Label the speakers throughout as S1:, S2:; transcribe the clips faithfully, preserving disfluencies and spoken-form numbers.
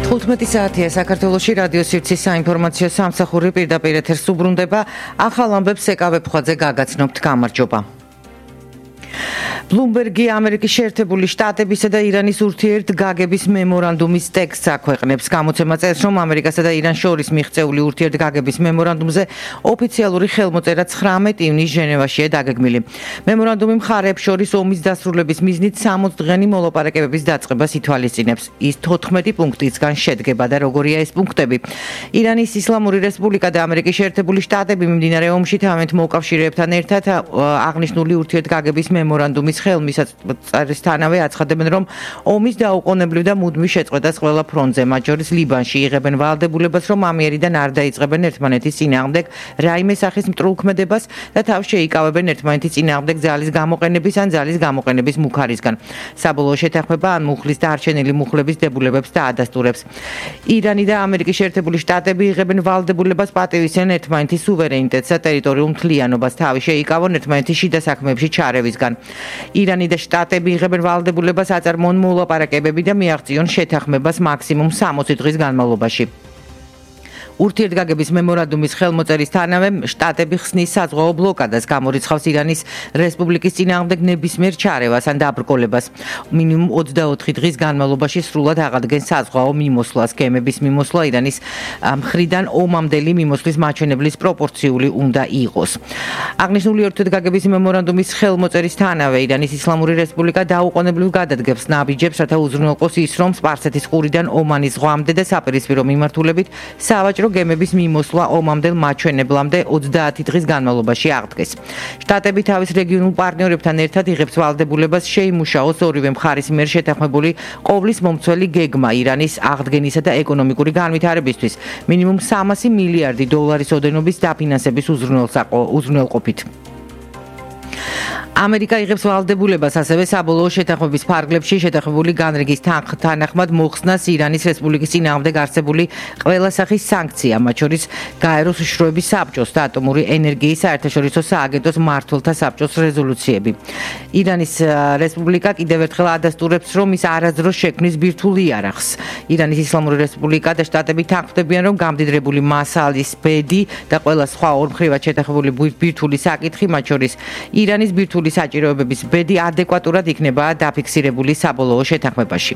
S1: თხუთმეტი საათია საქართველოში რადიო სივრცის საინფორმაციო სამსახური პირდაპირ ეთერს უბრუნდება. ახალ ამბებს ეკავებ ხვაძე გაგაცნობთ. გამარჯობა. ბლუმბერგი ამერიკის შეერთებული შტატებისა და ირანის ურთიერთგაგების მემორანდუმის ტექსტს აქვეყნებს. გამოცემა წერს, რომ ამერიკასა და ირანს შორის მიღწეული ურთიერთგაგების მემორანდუმზე ოფიციალური ხელმოწერა ცხრამეტ ივნისს ჟენევაშია დაგეგმილი. მემორანდუმი მხარეებს შორის ომის დასრულების მიზნით სამოცი დღიანი მოლაპარაკებების დაწყებას ითვალისწინებს. ის თოთხმეტი პუნქტისგან შედგება და როგორია ეს პუნქტები? ირანის ისლამური რესპუბლიკა და ამერიკის შეერთებული შტატები მიმდინარე ომში თავიანთ მოკავშირეებთან ერთად აღნიშნული ურთიერთგაგების მემორანდუმის ხელმისაწვდომისთანავე აცხადებენ, რომ ომის დაუყოვნებლივ და მუდმივ შეწყვეტას ყველა ფრონტზე, მათ შორის ლიბანში, იღებენ ვალდებულებას, რომ ამიერიდან არ დაიწყებენ ერთმანეთის წინააღმდეგ რაიმე სახის მტრულქმედებას და თავს შეიკავებენ ერთმანეთის წინააღმდეგ ძალის გამოყენების ან ძალის გამოყენების მუქარისგან. საბოლოო შეთანხმება ან მუხლის დარჩენილი მუხლების დებულებებს და ადასტურებს. ირანი და ამერიკის შეერთებული შტატები იღებენ ვალდებულებას პატივისცემენ ერთმანეთის სუვერენიტეტს და ტერიტორიულ მთლიანობას, თავი შეიკავონ ერთმანეთის შიდა საქმეებში ჩარევისგან. ირანი და შტატები იღებენ ვალდებულებას აწარმოონ მოლაპარაკებები და მიაღწიონ შეთანხმებას მაქსიმუმ სამოცი დღის განმავლობაში. ურთიერთგაგების მემორანდუმის ხელმოწერისთანავე შტატები ხსნის საზღვაო ბლოკადას, გამორიცხავს ირანის რესპუბლიკის წინააღმდეგ ნებისმიერ ჩარევას ან დაბრკოლებას. მინიმუმ ოცდაოთხი დღის განმავლობაში სრულად აღადგენს საზღვაო მიმოსვლას. გემების მიმოსვლა ირანის მხრიდან ომამდელი მიმოსვლის მაჩვენებლის პროპორციული უნდა იყოს. აღნიშნული ურთიერთგაგების მემორანდუმის ხელმოწერისთანავე ირანის ისლამური რესპუბლიკა დაუყოვნებლივ გადადგებს ნაბიჯებს, რათა უზრუნველყოს ის, რომ სპარსეთის ყურიდან ომანის ზღვამდე და საპირისპირო მიმართულებით სავაჭრო გემების მიმოსვლა ომამდელ მაჩვენებლამდე ოცდაათი დღის განმავლობაში აღდგეს. შტატები თავის რეგიონულ პარტნიორებთან ერთად იღებს ვალდებულებას შეიმუშაოს ორივე მხარის მიერ შეთანხმებული ყოვლის მომცველი გეგმა ირანის აღდგენისა და ეკონომიკური განვითარებისთვის მინიმუმ სამასი მილიარდი დოლარის ოდენობის დაფინანსების უზრუნველყოფით. ამერიკა იღებს ვალდებულებას ასევე საბოლოო შეთანხმების ფარგლებში შეთანხმებული განრიგის თანახმად მოხსნას ირანის რესპუბლიკის წინააღმდეგ არსებული ყველა სახის სანქცია, მათ შორის გაეროს უშიშროების საბჭოს და ატომური ენერგიის საერთაშორისო სააგენტოს მმართველთა საბჭოს რეზოლუციები. ირანის რესპუბლიკა კიდევ ერთხელ ადასტურებს, რომ ის არასდროს შექმნის ბირთვულ იარაღს. ირანის ისლამური რესპუბლიკა და შტატები თანხმდებიან, რომ გამდიდრებული მასალის ბედი და ყველა სხვა ორმხრივად შეთანხმებული ბირთვული საკითხი, მათ შორის ირანის ბირთვული საჭიროებების ბედი ადეკვატურად იქნება დაფიქსირებული საბოლოო შეთანხმებაში.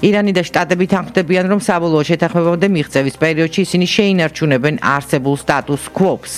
S1: ირანი და შტატები თანხმდებიან, რომ საბოლოო შეთანხმებამდე მიღწევის პერიოდში ისინი შეინარჩუნებენ არსებულ სტატუს კვოს.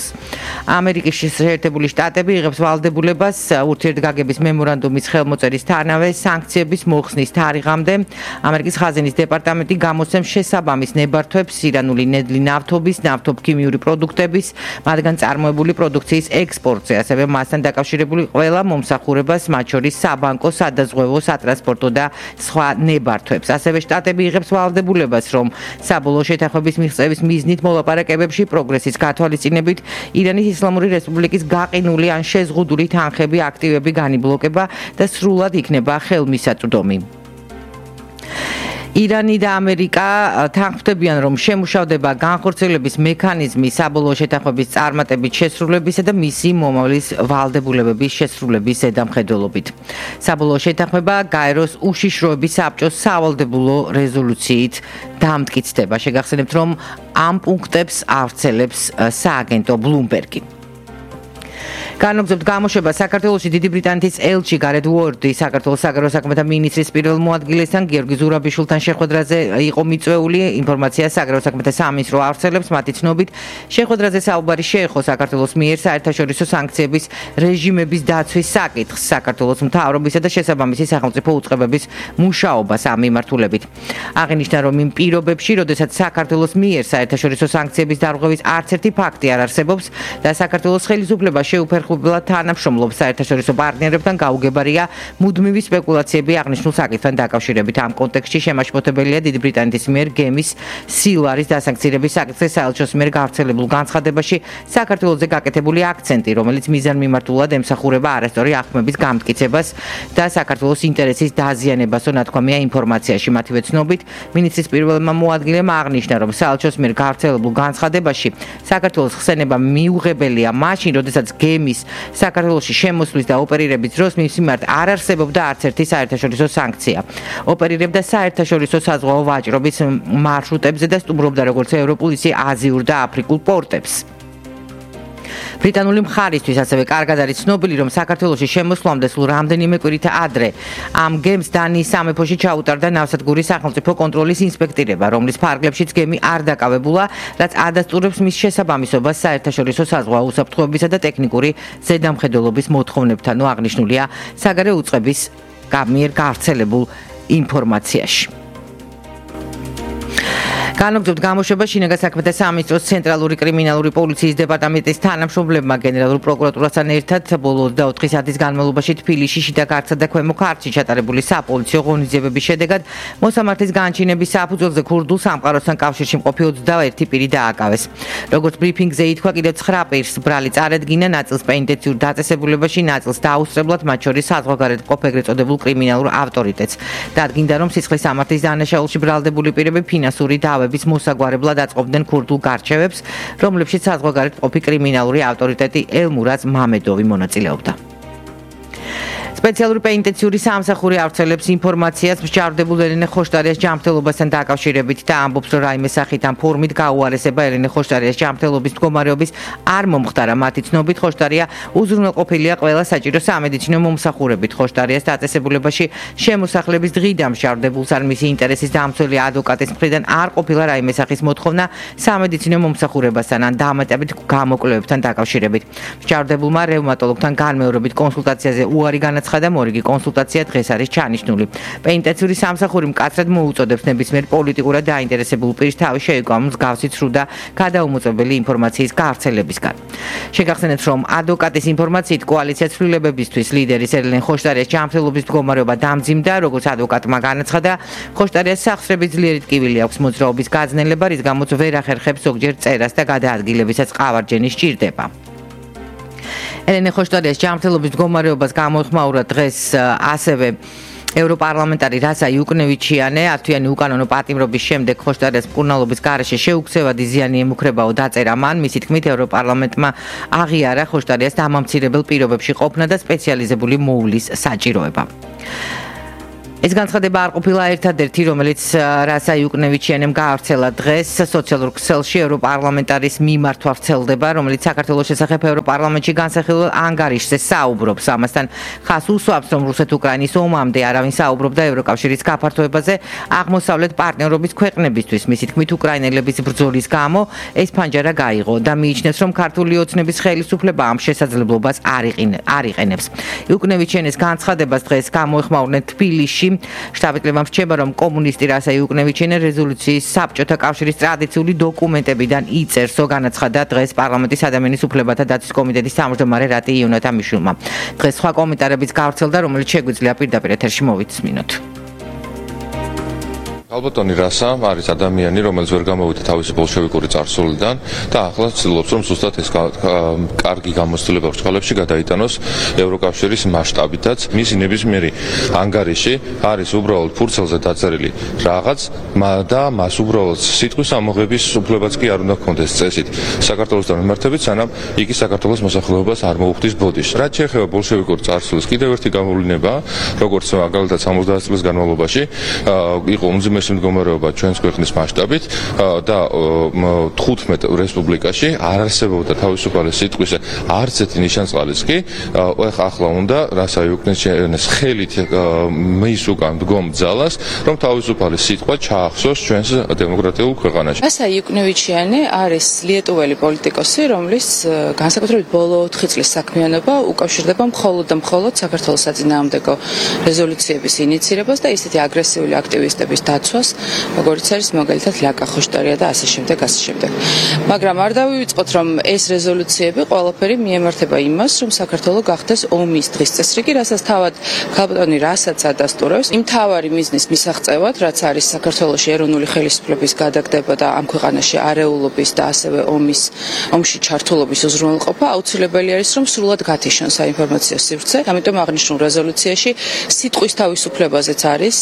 S1: ამერიკის შეერთებული შტატები იღებს ვალდებულებას ურთიერთგაგების მემორანდუმის ხელმოწერისთანავე სანქციების მოხსნის თარიღამდე. ამერიკის ხაზინის დეპარტამენტი გამოსცემს შესაბამის ნებართვებს ირანული ნედლი ნავთობის, ნავთობქიმიური პროდუქტების, მათგან წარმოებული პროდუქციის ექსპორტზე, ასევე მასთან დაკავშირებული ყველა მომსახურებას, მათ შორის საბანკო, სადაზღვევო, სატრანსპორტო და სხვა ნებართვებს. ასევე შტატები იღებს ვალდებულებას, რომ საბოლოო შეთანხმების მიღწევის მიზნით მოლაპარაკებებში პროგრესის გათვალისწინებით ირანის ისლამური რესპუბლიკის გაყინული ან შეზღუდული თანხები, აქტივები განიბლოკება და სრულად იქნება ხელმისაწვდომი. ირანი და ამერიკა თანხმდებიან, რომ შემუშავდება განხორციელების მექანიზმი საბოლოო შეთანხმების წარმატებით შესრულებისა და მისი მომავლის ვალდებულებების შესრულების ზედამხედველობით. საბოლოო შეთანხმება გაეროს უშიშროების საბჭოს სავალდებულო რეზოლუციით დამტკიცდება. შეგახსენებთ, რომ ამ პუნქტებს ავრცელებს სააგენტო ბლუმბერგი. განაგრძობთ გამოშვება საქართველოში დიდი ბრიტანეთის ელჩი გარეთ უორდი საქართველოს საგარეო საქმეთა მინისტრის პირველ მოადგილესთან გიორგი ზურაბიშვილთან შეხვედრაზე იყო მიწვეული. ინფორმაცია საგარეო საქმეთა სამინისტრო ავრცელებს. მათი ცნობით შეხვედრაზე საუბარი შეეხო საქართველოს მიერ საერთაშორისო სანქციების რეჟიმების დაცვის საკითხს, საქართველოს მთავრობისა და შესაბამისი სახელმწიფო უწყებების მუშაობას ამ მიმართულებით. აღინიშნა, რომ იმ პირობებში, როდესაც საქართველოს მიერ საერთაშორისო სანქციების დარღვევის არც ერთი ფაქტი არ არსებობს და საქართველოს ხელისუფლება შეუფერხ ხუბლად თანამშრომლობს საერთაშორისო პარტნიორებთან, გაუგებარია მუდმივი სპეკულაციები აღნიშნულ საკითხთან დაკავშირებით. ამ კონტექსტში შემაშფოთებელია დიდი ბრიტანეთის მიერ გემის სილვარის დასანქცირების საკითხის საელჩოს მიერ გავრცელებულ განცხადებაში საქართველოზე გაკეთებული აქცენტი, რომელიც მიზანმიმართულად ემსახურება არასწორი აღქმების გამტკიცებას და საქართველოს ინტერესის დაზიანებასო ნათქვამია ინფორმაციაში. მათივე ცნობით, მინისტრის პირველმა მოადგილემ აღნიშნა, რომ საელჩოს მიერ გავრცელებულ განცხადებაში საქართველოს ხსენება მიუღებელია მაშინ, როდესაც გემი მის საქართველოში შემოსვლის და ოპერირების დროს მის მიმართ არ არსებობდა არც ერთი საერთაშორისო სანქცია. ოპერირებდა საერთაშორისო საზღვაო ვაჭრობის მარშრუტებზე და სტუმრობდა როგორც ევროპულ, ისე აზიურ და აფრიკულ პორტებს. ბრიტანული მხარისთვის ასევე კარგად არის ცნობილი, რომ საქართველოში შემოსვლამდე სულ რამდენიმე კვირით ადრე ამ გემს დანიის სამეფოში ჩაუტარდა ნავსადგურის სახელმწიფო კონტროლის ინსპექტირება, რომლის ფარგლებშიც გემი არ დაკავებულა, რაც ადასტურებს მის შესაბამისობას საერთაშორისო საზღვაო უსაფრთხოებისა და ტექნიკური ზედამხედველობის მოთხოვნებთან, აღნიშნულია საგარეო უწყების მიერ გავრცელებულ ინფორმაციაში. განაგრძობთ გამოშვება შინაგან საქმეთა სამინისტროს ცენტრალური კრიმინალური პოლიციის დეპარტამენტის თანამშრომლებმა გენერალურ პროკურატურასთან ერთად ბოლო ოცდაოთხი საათის განმავლობაში თბილისში შიდა ქართლსა და ქვემო ქართლში ჩატარებული საპოლიციო ღონისძიებების შედეგად მოსამართლის განჩინების საფუძველზე ქურდულ სამყაროსთან კავშირში მყოფი ოცდაერთი პირი დააკავეს. როგორც ბრიფინგზე ითქვა, კიდევ ცხრა პირს ბრალი წარედგინა, ნაწილს პენიტენციურ დაწესებულებაში, ნაწილს დაუსწრებლად, მათ შორის საზღვარგარეთ მყოფ ეგრეთ წოდებულ კრიმინალურ ავტორიტეტს. დადგინდა, რომ სისხლის სამართლის დანაშაულში ბრალდებული პირები ფინანსური დავების მოსაგვარებლად აწყობდნენ ქურდულ გარჩევებს, რომლებშიც საზღვარგარეთ მყოფი კრიმინალური ავტორიტეტი ელმურაზ მამედოვი მონაწილეობდა. სპეციალური პენიტენციური სამსახური ავრცელებს ინფორმაციას მსჯავრდებულ ელენე ხოშტარიას ჯანმრთელობასთან დაკავშირებით და ამბობს, რომ რაიმე სახით ან ფორმით გაუარესება ელენე ხოშტარიას ჯანმრთელობის მდგომარეობის არ მომხდარა. მათი ცნობით ხოშტარია უზრუნველყოფილია ყველა საჭირო სამედიცინო მომსახურებით. ხოშტარიას დაწესებულებაში შემოსახლების დღიდან მსჯავრდებულს არ მისი ინტერესის დამცველი ადვოკატის მხრიდან არ ყოფილა რაიმე სახის მოთხოვნა სამედიცინო მომსახურებასთან ან დამატებით გამოკვლევებთან დაკავშირებით. მსჯავრდებულმა რევმატოლოგთან განმეორებით კონსულტაციაზე უარი განაცხადა და მორიგი კონსულტაცია დღეს არის ჩანიშნული. პენიტენციური სამსახური მკაცრად მოუწოდებს ნებისმიერ პოლიტიკურად დაინტერესებულ პირს თავი შეეკვა მსგავსი ცრუ და გადაუმოწმებელი ინფორმაციის გავრცელებისგან. შეგახსენეთ, რომ ადვოკატის ინფორმაციით კოალიცია ცვლილებებისთვის ლიდერის ელენე ხოშტარიას ჯანმრთელობის მდგომარეობა დამძიმდა, როგორც ადვოკატმა განაცხადა, ხოშტარიას სახსრების ძლიერი ტკივილი აქვს მოძრაობის გაძნელება, რის გამოც ვერ ახერხებს ზოგჯერ წერას და გადაადგილებისაც ყავარჯენი სჭირდება. ელენე ხოშტარიას ჯანმრთელობის მდგომარეობას გამოეხმაურა დღეს ასევე ევროპარლამენტარი რასა იუკნევიჩიანე. ათვიანი უკანონო პატიმრობის შემდეგ ხოშტარიას მკურნალობის გარეშე შეუქცევადი ზიანი ემუქრებაო დაწერა მან. მისი თქმით, ევროპარლამენტმა აღიარა ხოშტარიას დამამცირებელ პირობებში ყოფნა და სპეციალიზებული მოულის საჭიროება. ეს განცხადება არ ყოფილა ერთადერთი, რომელიც რასა იუკნევიჩიანემ გაავრცელა დღეს სოციალურ ქსელში. ევროპარლამენტარის მიმართვა ვრცელდება, რომელიც საქართველოს შესახებ ევროპარლამენტში განსახილველ ანგარიშზე საუბრობს. ამასთან ხას უსვამს, რომ რუსეთ-უკრაინის ომამდე არავინ საუბრობდა ევროკავშირის გაფართოებაზე აღმოსავლეთ პარტნიორობის ქვეყნებისთვის. მისი თქმით, უკრაინელების ბრძოლის გამო ეს ფანჯარა გაიღო და მიიჩნევს, რომ ქართული ოცნების ხელისუფლება ამ შესაძლებლობას არ იყენებს. იუკნევიჩიანის განცხადებას დღეს გამოეხმაურნენ თბილისში. შტაბ-კრებამ რჩება, რომ კომუნისტი რასა იუკნევიჩიანე რეზოლუციის საბჭოთა კავშირის ტრადიციული დოკუმენტებიდან იწერსო, განაცხადა დღეს პარლამენტის ადამიანის უფლებათა დაცვის კომიტეტის თავმჯდომარე რატი იონათამიშვილმა. დღეს სხვა კომენტარებიც გავრცელდა, რომელიც შეგვიძლია პირდაპირ ეთერში მოვიცმინოთ.
S2: ალბათონი რასა არის ადამიანი, რომელიც ვერ გამოვიდა თავისი ბოლშევიკური წარსულიდან და ახლა ცდილობს, რომ ზუსტად ეს კარგი გამოცდილება ბრწყალებში გადაიტანოს ევროკავშირის მასშტაბითაც. მისი ნებისმიერი ანგარიში არის უბრალოდ ფურცელზე დაწერილი რაღაც და მას უბრალოდ სიტყვის ამოღების უფლებაც კი არ უნდა ჰქონდეს წესით საქართველოსთან მიმართებით, სანამ იგი საქართველოს მოსახლეობას არ მოუხდის ბოდიშს. რაც შეეხება ბოლშევიკურ წარსულს, კიდევ ერთი გამოვლინება, როგორც მაგალითად სამოცდაათი წლის განმავლობაში იყო უმძიმესი მდგომარეობა ჩვენს ქვეყნის მასშტაბით და თხუთმეტ რესპუბლიკაში არ არსებობდა თავისუფალი სიტყვის არც ერთი ნიშანწყალის კი. ახლა უნდა რასა იუკნევიჩიანეს ხელით მის უკან დგომ ძალას, რომ თავისუფალი სიტყვა ჩაახსოვს ჩვენს დემოკრატიულ ქვეყანაში.
S3: რასა იუკნევიჩიანე არის lietuveli პოლიტიკოსი, რომლის განსაკუთრებით ბოლო ოთხი წლის საქმიანობა უკავშირდება მხოლოდ და მხოლოდ საქართველოს საწინააღმდეგო რეზოლუციების ინიცირებას და ისეთი აგრესიული აქტივისტების დაცვას, როგორც არის მაგალითად ლაკა ხოშტარია და ასე შემდეგ, ასე შემდეგ. მაგრამ არ დავივიწყოთ, რომ ეს რეზოლუციები ყველაფერი მიემართება იმას, რომ საქართველოს გახდეს ომის დღის წესრიგი, რასაც თავად ქალბატონი რასაც ადასტურებს, იმ თავარი მიზნის მისაღწევად, რაც არის საქართველოს ეროვნული ხელისუფლების გადაგდება და ამ ქვეყანაში არეულობის და ასევე ომის ომში ჩართულობის უზრუნველყოფა, აუცილებელი არის, რომ სრულად გათიშონ საინფორმაციო სივრცე. ამიტომ აღნიშნულ რეზოლუციაში სიტყვის თავისუფლებაზეც არის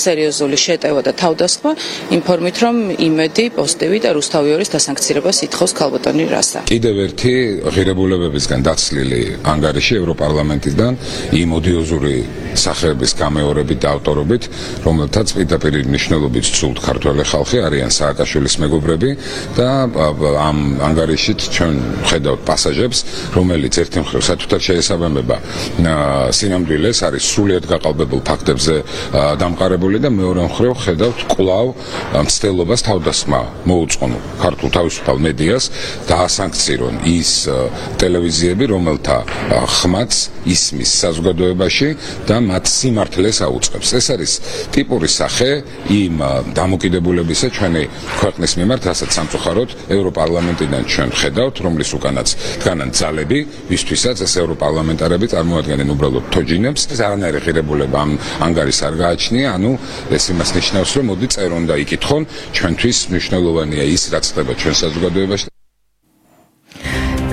S3: სერიოზული შეტევა და თავდასხმა იმ ფორმით, რომ იმედი, პოზიტივი და რუსთავიორის დასანქცირებას ითხოვს ქალბატონი რასა.
S4: კიდევ ერთი ღირებულებებისგან დაცლილი ანგარიში ევროპარლამენტიდან იმ ოდიოზური სახეების გამეორებით და ავტორობით, რომელთაც პირდაპირ მნიშვნელობით ცუდ ქართველი ხალხი არიან სააკაშვილის მეგობრები და ამ ანგარიშით ჩვენ ხედავთ პასაჟებს, რომელიც ერთი მხრივ სათუთარ შეესაბამება სინამდვილეს, არის სრულიად გაყალბებულ ფაქტებზე დამყარებული და მეორე მხრივ ხედავთ კვლავ მცდელობას თავდასხმა მოუწყონ ქართულ თავისუფალ მედიას დაასანქცირონ ის ტელევიზიები, რომელთა ხმაც ისმის საზოგადოებაში და მათ სიმართლეს აუწყებს. ეს არის ტიპური სახე იმ დამოკიდებულებისა ჩვენი ქვეყნის მიმართ, რასაც სამწუხაროდ ევროპარლამენტიდან ჩვენ ხედავთ, რომლის უკანაც დგანან ძალები, ვისთვისაც ეს ევროპარლამენტარები წარმოადგენენ უბრალოდ თოჯინებს. ეს არანაირი ღირებულება ამ ანგარიშს არ გააჩნია, ანუ ეს იმას ნიშნავს, რომ მოდი წერონ და იკითხონ, ჩვენთვის მნიშვნელოვანია ის, რაც ხდება ჩვენ საზოგადოებაში.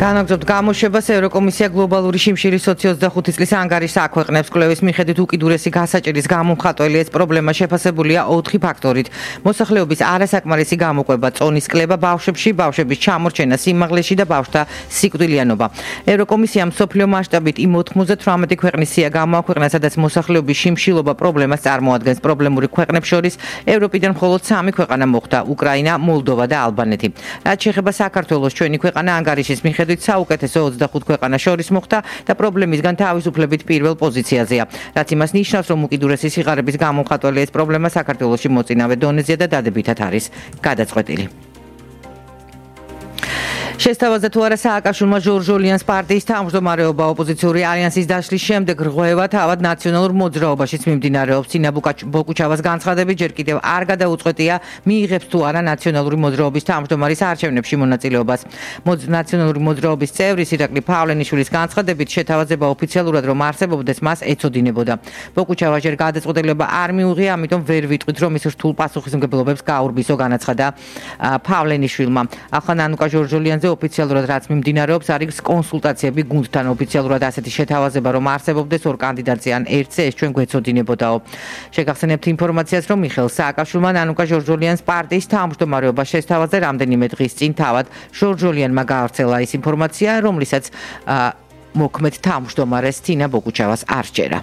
S1: განაგრძობთ გამოშვებას ევროკომისია გლობალური შიმშილის ოცდაოთხი წლის ანგარიშს აქვეყნებს. კვლევის მიხედვით უკიდურესი გასაჭირის გამომხატველი ეს პრობლემა შეფასებულია ოთხი ფაქტორით. მოსახლეობის არასაკმარისი გამოყვება, წონის კლება ბავშვებში, ბავშვების ჩამორჩენა სიმაღლეში და ბავშვთა სიკვდილიანობა. ევროკომისიამ მსოფლიო მასშტაბით იმ ოთხმოცდათვრამეტი ქვეყნის სია გამოაქვეყნა, სადაც მოსახლეობის შიმშილობა პრობლემას წარმოადგენს. პრობლემური ქვეყნებს შორის ევროპიდან მხოლოდ სამი ქვეყანა მოხვდა: უკრაინა, მოლდოვა და ალბანეთი. რაც შეეხება საქართველოს, ჩვენი ქვეყანა ანგარიშის მიხედვით საუკეთესო ოცდახუთ ქვეყანას შორის მოხვდა და პრობლემისგან თავისუფლებით პირველ პოზიციაზეა. რაც იმას ნიშნავს, რომ უკიდურესი სიღარიბის გამომხატველი ეს პრობლემა საქართველოში მოწინავე დონეზეა და დადებითად არის გადაწყვეტილი. შესთავაზა თუ არა სააკაშვილმა ჟორჟოლიანს პარტიის თავმჯდომარეობა ოპოზიციური ალიანსის დაშლის შემდეგ რღვევა თავად ნაციონალურ მოძრაობაშიც მიმდინარეობს. ცინა ბოკუჩავას განცხადებით ჯერ კიდევ არ გადაუწყვეტია მიიღებს თუ არა ნაციონალური მოძრაობის თავმჯდომარის არჩევნებში მონაწილეობას. ნაციონალური მოძრაობის წევრის ირაკლი ფავლენიშვილის განცხადებით შეთავაზება ოფიციალურად რომ არსებობდეს მას ეწოდინებოდა. ბოკუჩავა ჯერ გადაწყვეტილება არ მიუღია, ამიტომ ვერ ვიტყვით რომ ის რთულ პასუხისმგებლობებს გაურბისო, განაცხადა ფავლენიშვილმა. ახლა ნანუკა ჟორჟოლიანზე ოფიციალურად რაც მიმდინარეობს არის კონსულტაციები გუნდთან. ოფიციალურად ასეთი შეთავაზება რომ არსებობდეს ორ კანდიდატზე ან ერთზე ეს ჩვენ გვეცოდინებოდაო. შეგახსენებთ ინფორმაციას, რომ მიხეილ სააკაშვილმა ნანუკა ჟორჟოლიანს პარტიის თავმჯდომარეობა შესთავაზა რამდენიმე დღის წინ. თავად ჟორჟოლიანმა გაავრცელა ის ინფორმაცია, რომლითაც მოქმედ თავმჯდომარეს ცინა ბოკუჩავას არ სჯერა.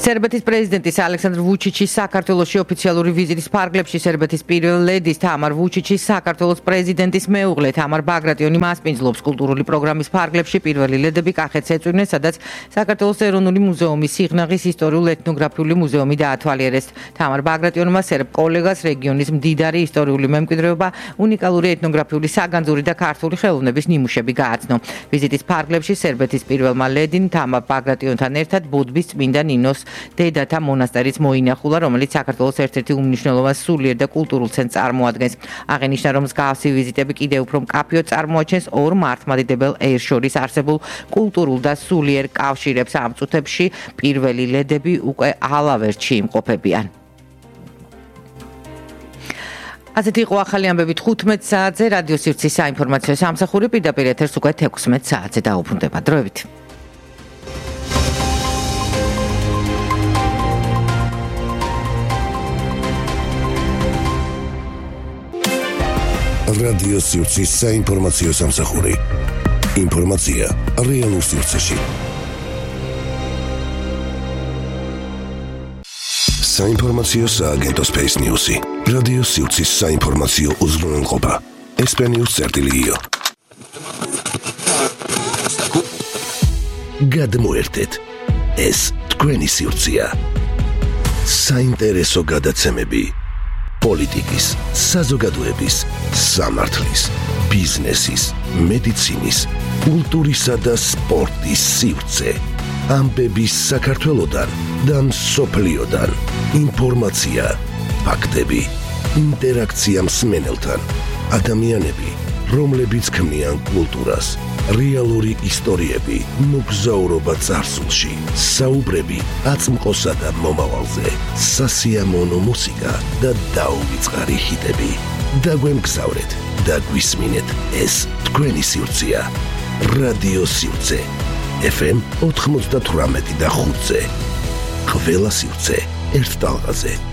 S1: სერბეთის პრეზიდენტის ალექსანდრ ვუჩიჩის საქართველოში ოფიციალური ვიზიტის ფარგლებში სერბეთის პირველი ლედის თამარ ვუჩიჩის საქართველოს პრეზიდენტის მეუღლე თამარ ბაგრატიონი მასპინძლობს კულტურული პროგრამის ფარგლებში. პირველი ლედები კახეთს ეწვივნენ, სადაც საქართველოს ეროვნული მუზეუმის სიღნაღის ისტორიულ-ეთნოგრაფიული მუზეუმი დაათვალიერეს. თამარ ბაგრატიონმა სერბ კოლეგას რეგიონის მდიდარი ისტორიული მემკვიდრეობა, უნიკალური ეთნოგრაფიული საგანძური და ქართული ხელოვნების ნიმუშები გააცნო. ვიზიტის ფარგლებში სერბეთის პირველმა ლედინ თამარ ბაგრატიონთან ერთად ბუდბის წმინდა ნინოს დედათა მონასტერიც მოინახულა, რომელიც საქართველოს ერთ-ერთი უმნიშვნელოვანეს სულიერ და კულტურულ ცენტრს წარმოადგენს. აღინიშნა, რომ მსგავსი ვიზიტები კიდევ უფრო მკაფიოდ წარმოაჩენს ორ მართლმადიდებელ ერს შორის არსებულ კულტურულ და სულიერ კავშირებს. ამ წუთებში პირველი ლედები უკვე ალავერტში იმყოფებიან. ასეთი იყო ახალი ამბები თხუთმეტ საათზე რადიო სივრცის საინფორმაციო სამსახური. პირდაპირ ეთერს უკვე თექვსმეტ საათზე დაუბრუნდება. დროებით.
S5: რადიო სივრცის საინფორმაციო სამსახური. ინფორმაცია რეალურ სივრცეში. საინფორმაციო სააგენტო Space News-ი. რადიო სივრცის საინფორმაციო უზრუნველყოფა. ესპენიუს წერტილიო. გადმოერთეთ. ეს თქვენი სივრცეა. საინტერესო გადაცემები. პოლიტიკის, საზოგადოების, სამართლის, ბიზნესის, მედიცინის, კულტურისა და სპორტის სივრცე. ამბები საქართველოდან და მსოფლიოდან. ინფორმაცია, ფაქტები, ინტერაქცია მსმენელთან. ადამიანები, რომლებიც ქმნიან კულტურას. რეალური ისტორიები, მოგზაურობა წარსულში, საუბრები აწმყოსა და მომავალზე, სასიამოვნო მუსიკა და დაუვიწყარი ჰიტები. დაგვემგზავრეთ და გვისმინეთ, ეს თქვენი სივრცეა. რადიო სივრცე. ეფ ემ ოთხმოცდათვრამეტი და ხუთზე. ყველა სივრცე ერთ ტალღაზე.